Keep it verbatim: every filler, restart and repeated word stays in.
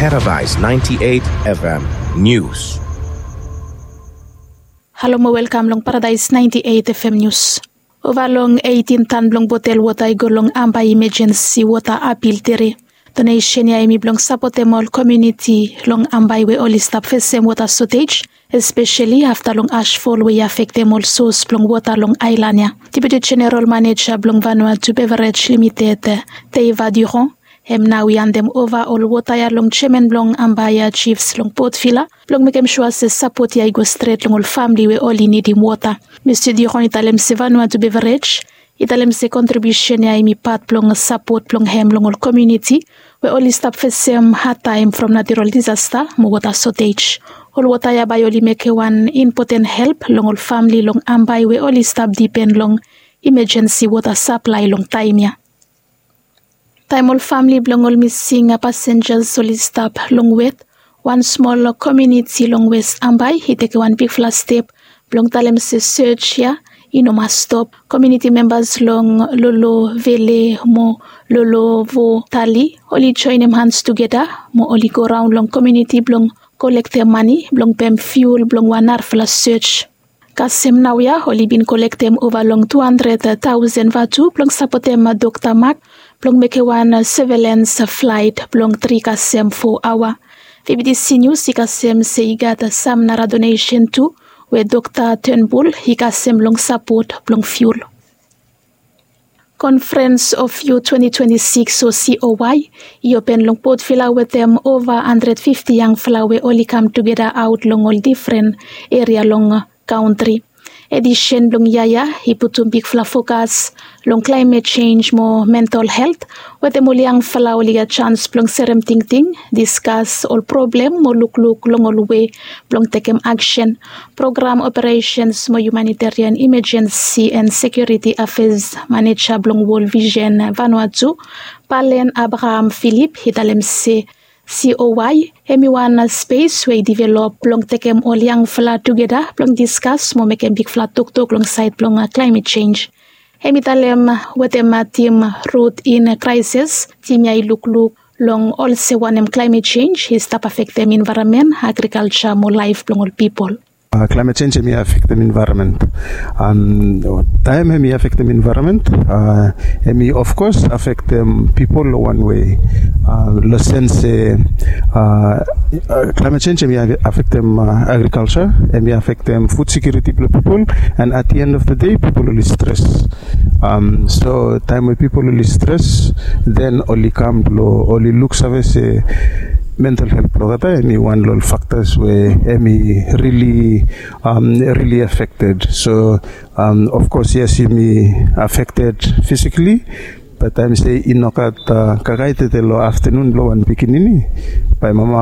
Paradise ninety-eight F M News. Halo mo welkam long Paradise ninety-eight F M News. Ova long eighteen tan blong botel wota i go long Ambae Emergency Water Appeal Tere. Donesen ya hemi blong sapotem ol komuniti long Ambae we oli stap fesem wota shortage, especially afta long ashfall we i afektem ol source blong wota long aelan ya. Deputy General Manager blong Vanuatu Beverage Limited, Teiva Durand, hem nao i handem ova ol wota ya long jeaman blong Ambae ya, chiefs long Port Vila, blong mekem sua se sapot ya i go stret long ol famili we oli nidim wota. Mista Durand i talem se Vanuatu Beverage i talem se kontribiusen ya hemi pat blong sapot blong hem long ol komuniti we oli stap fesem hadtaem from natural disasta mo wota shortage. Ol wota ya bae oli mekem wan impoten help long ol famili long Ambae we oli stap dipen long emergency wota saplae long taem ya. Taem ol famili blong ol mising pasenjas oli stap long wet, wan smol komuniti long West Ambae i tekem wan bigfala step blong talem se search ya i no mas stop. Komuniti membas long Lolovele mo Lolovotali oli joenem hans tugeta mo oli goraon long komuniti blong kolektem mane blong pem fiul blong wan narafala search. Kasem naoia oli bin kolektem ova long tu handred taosen vatu blong sapotem Dokta Mak blong mekem wan surveillance flight blong tri kasem fo aoa. V B T C News i kasem se i gat sam nara donesen tu we Dokta Turnbull i kasem long sapot blong fiul. Conference of Youth twenty twenty-six o C O Y i open long Port Vila wetem ova handred fifti yangfala we oli kam tugeta aot long ol difren eria long kaontri. Edisen blong yia ya i putum bigfala fokas long climate change mo mental health, wetem ol yangfala oli gat sans blong serem tingting, diskas ol problem mo lukluk long ol wei blong tekem aksen. Program Operations mo Humanitarian Emergency and Security Affairs Manager blong World Vision Vanuatu, Palen Abraham Philip, i talem se C O Y hemi wan spes we i develop blong tekem ol yangfala tugeta blong diskas mo mekem bigfala toktok long saed blong climate change. Hemi talem wetem tim Root in Crisis, tim ya i lukluk long olsem wanem climate change i stap afektem environment, agriculture mo laef blong ol pipol. Climate change hemi afektem environment. Taem hemi afektem environment, hemi of course afektem pipol long wan wei. Long sens se climate change hemi afektem agriculture, hemi afektem food security blong pipol, and at the end of the day pipol oli stres. So taem we pipol oli stres, then oli kam blong oli luksave se mental health blong olgeta hemi wan long ol factors we hemi really, really affected. So of course yes, hemi affected physically, but taem se i nogat kakaetete long aftenun blong wan pikinini, bae mama